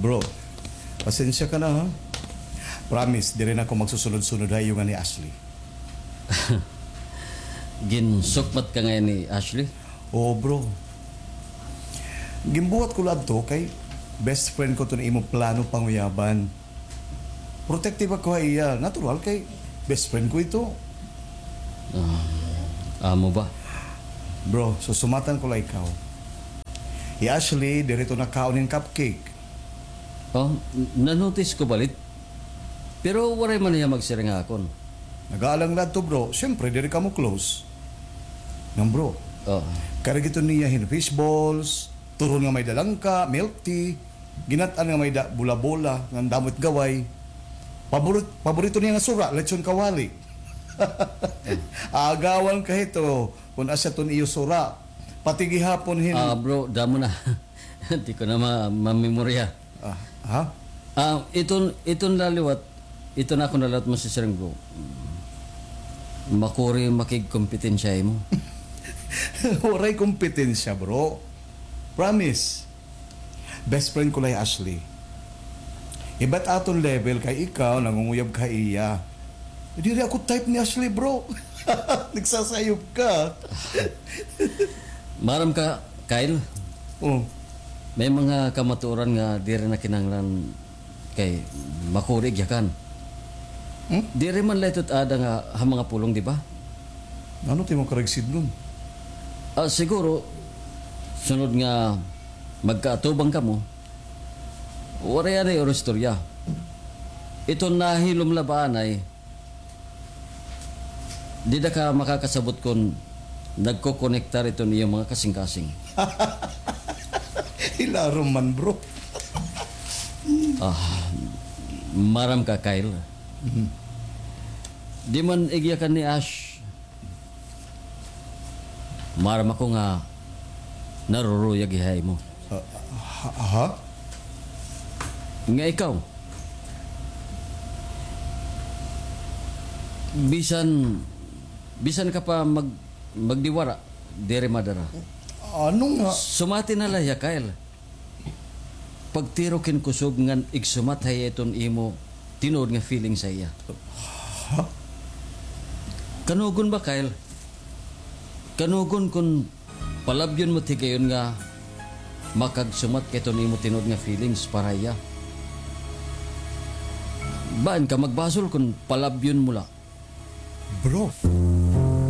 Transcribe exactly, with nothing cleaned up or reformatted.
Bro, pasensya ka na, ha? Promise, diri na ako magsusunod-sunod ha iyo ngan ni Ashley. Ginsukmat ka ngay-an ni Ashley? Oo, bro. Ginbuhat ko la adto kay best friend ko iton imo plano panguyaban. Protective ako ha iya. Natural kay best friend ko ito. Ah, amo ba? Bro, susumatan ko la ikaw. Hi Ashley, diri ito nakaon hin cupcake. Oh, n-, na-notice ko balit. Pero waray man hiya magsiring ha akon. Nag-aalang la adto, bro. Siyempre, diri kamo close. Ngan, bro, oh, karga ito niya hin fish balls, turon nga may-ada langka, milk tea, ginat-an nga may-ada bola-bola, ngan damo it gaway. Paborit-, paborito niya nga sura, lechon kawali. Agawan ka hito, kun asya iton iyo sura. Pati gihapon hin- Ah, bro, damo na. Di ko na ma-, mamemorya. Ah, ha? Ah, iton, iton la liwat, iton akon la liwat masisiring, bro. Makuri makigkompetensya ha imo. Waray kompetensya, bro. Promise. Best friend ko la hi Ashley. Iba it aton level kay ikaw, nangunguyab ka ha iya. Diri ako type ni Ashley, bro. Nagsasayop ka. Maaram ka, Kyle? Oh. May mga kamatuoran nga diri na kinahanglan kay makuri igyakan. Hmm? Diri man la ito it aada nga ha mga pulong, di ba? Ano it imo karuyag sidngon? Ah, siguro, sunod nga magkaatubang kamo, waray anay uro istorya. Iton nahilom la ba anay, dida ka makakasabot kon nagkokonektar iton iyo mga kasingkasing. Hilarom man, bro. Ah, maaram ka, Kyle. Mhm. Di man igyakan ni Ash. Maaram ako nga naruruyag hiya ha imo. Ah, ha, ha? Nga ikaw, bisan, bisan ka pa mag-, magdiwara, diri madara. Ano nga? Sumati na la hiya, Kyle. Pagtirok hin kusog ngan igsumat ha iya iton imo tinuod nga feelings ha iya. Ha? Kanugon ba, Kyle? Kanugon kon palabyon mo it higayon nga makagsumat ka hiton imo tinuod nga feelings para ha iya. Baan ka magbasol kon palabyon mo la? Bro.